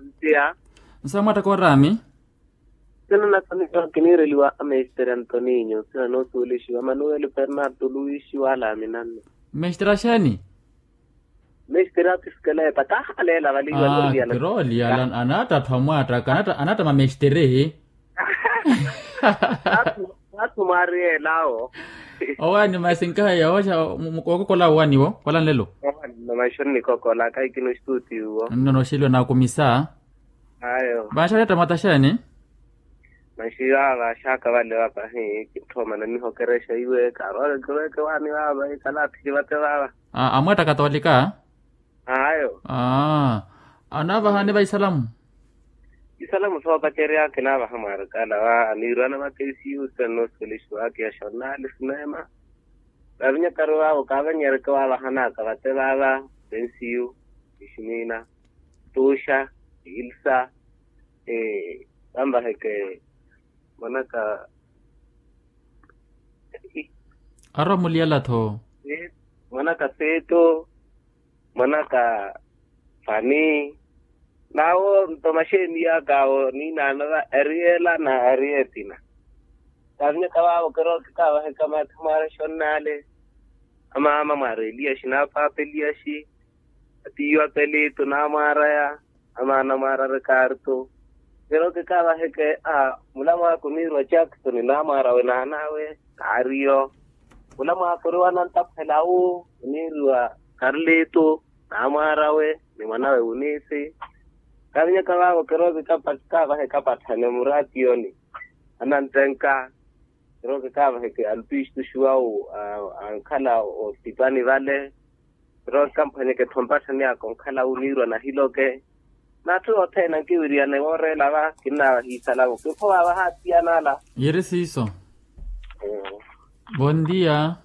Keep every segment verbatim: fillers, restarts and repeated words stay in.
Ntiya. Nsa mwattaka oraami. Sina nasoniwa kiniireliwa amestere antoninyo sina noosuwelixiwa manuweli fernarto luwixiwa alaami nanno. Mestere axeeni? Mestere apisikelepa taha aleela valiwa. Kirooli ala. Anaatta atthu amwaattaka anaatta mamestere. Atthu mwaari yeelaawo. Owaani masi nkahiya wookokola owaani wo kola nlelo. Owaani nno maxi onnikokola kahi kino stuti wo. Nno noxeliwa naakumisa. Ayo. Vanxaxetta mwataxeeni? Maxi vaava axaka vale vapahi kintthoma nanihokerexa iwe kaarwale kiweeke waani vaava ikala aphiki vate vaava. Amwetta katolika. Ayo. Anaavahani va isalamu. Isalamu soopacerya kinaavaha mwaarikala va anirwana vakeisiyu senoosukelixiwaka ya xornali sineema. Vavinyakaru vaavo kaavanyereke waavahanaka vate vaava. Pensiyu, iximiina, tuxa, ilsa, vanvaheke mwanaka. Arwa muliyala-tho. Mwanaka seto, mwanaka fani. Nawo nto maxeeni yaakaawo niinaano va ariela na arietina. Kaavinyaka vaavo kirookikaavaheka maatha mwaara xonnale. Amaama mwaara eliyaxi na apaapa eliyaxi. Atiiwa pelito naamwaaraya. Amaana mwaara rikarto. Kirookikaavaheke a mulamwaaka oniirwa jackson naamwaarawe naanawe. Naariyo mulamwaaka ori wanantaphwela wu oniiriwa karlito. Naamwaarawe ni mwanawe wuniisi. Kaavinyaka vaavo kirookikaavaheka patthane muratiyoni. Anantenka. Kirookikaavaheke alpistu xuwawu ankhala osipani vale. Kirookikaampwanyeke tho mpatthani aka onkhala wuniirwa nahiloke. N'atthu othene ankiwiriyane wooreela va kinnaavaha isalamu kinkhovaavaha attiyanala. Yiri siiso. Bondia.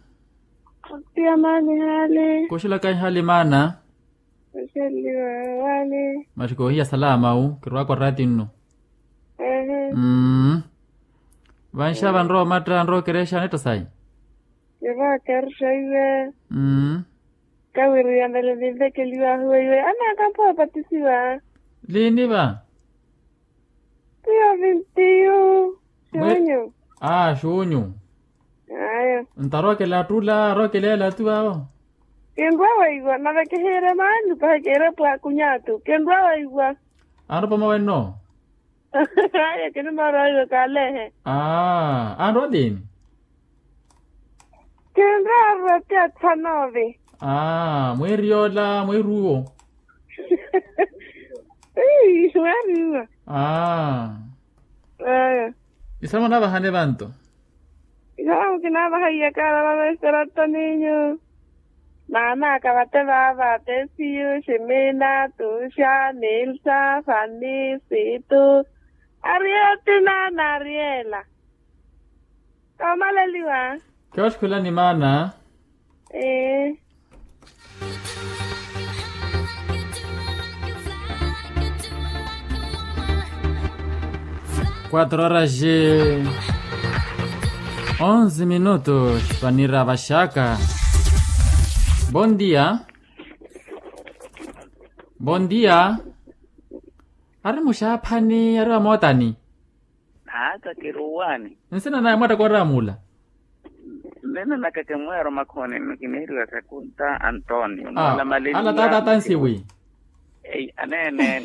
Bondia maana ihaali. Kuxilaka ihaali maana. Kuxeliwa waani. Maxi koohiya salama wu kirwaaka oraati nnu. Mmm. Vanxa vanrowa omatta anrowa okerexa anetta sayi. Kivaakerexa iwe. Mmm. Kawiriyamele ninvekeliwahu weiwe anaakampha opatisiwa. Liini va? Tiyo vintiyu. Xunyu. Aa xunyu. Aya. Ntarokela attula arokeleela atu vaavo. Kinrwa weiwa nave kihiire maani pahi kiire pwaakunya atu kinrwa weiwa. Anropoma wenno. Aya kinimara weiwa kaaleehe. Aa anrwa liini? Kinraarwa ti athanove. Aa mweeri yoola mweeri uwo. Mweeri uwo. Aa. Aya. Isalamu anaavahani vanto? Isalamu kinaavaha iyakala vaveserato ninyu. Naanaaka vate vaava tesiyu ximina tuxa nilsa fani situ. Arietina na ariela. Koomaleliwa. Kioxkhulani maana. Ee. Quatro horas e onze minutos panira vaxaka. Bondia. Bondia. Ari muxaaphani ari vamootani. Naaka kiruwani. Nsina naye mwattaka oraamula. Nnina naka kimweero makhooni nnu kiniiriwa sakunta antonio ala tata tansiwi. Eyi aneene.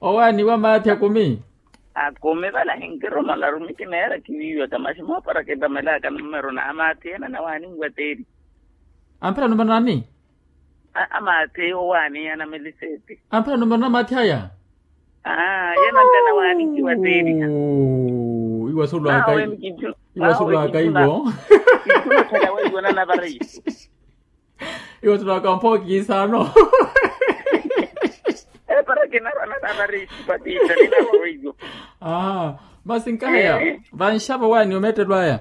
Owaani wa maathi akumi. Akumi vala hinkiromala rumi kineera kiwiiwaka maxi moopara kitamelaka numero na amaathi ena na waani nwateeri. Amphela numero nani? Amaathi owaani anameliseti. Amphela numero na amaathi aya. Aa yena ntana waani nkiwateeriha. Iwasulwaka iwo. Iwasulwaka mpookiisano. Epara kinarwa nanavariisu patiita ninarwa weiyo. Aa masi nkahaya. Vanxavo waani omeettelo aya.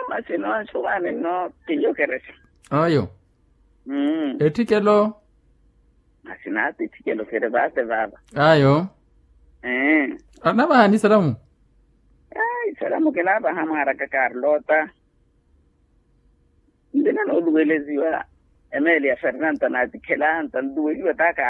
Masi noonxo waani nno. Kiyokerexa. Ayo. Etthikelo. Masi naatitthikelo kiri vaate vaava. Ayo. Anavahani isalamu. Isalamu kinaavaha mwaaraka karlota. Ntina nooluweleziwa emeeli ya fernanta naatikhela anta nluweliwa taaka.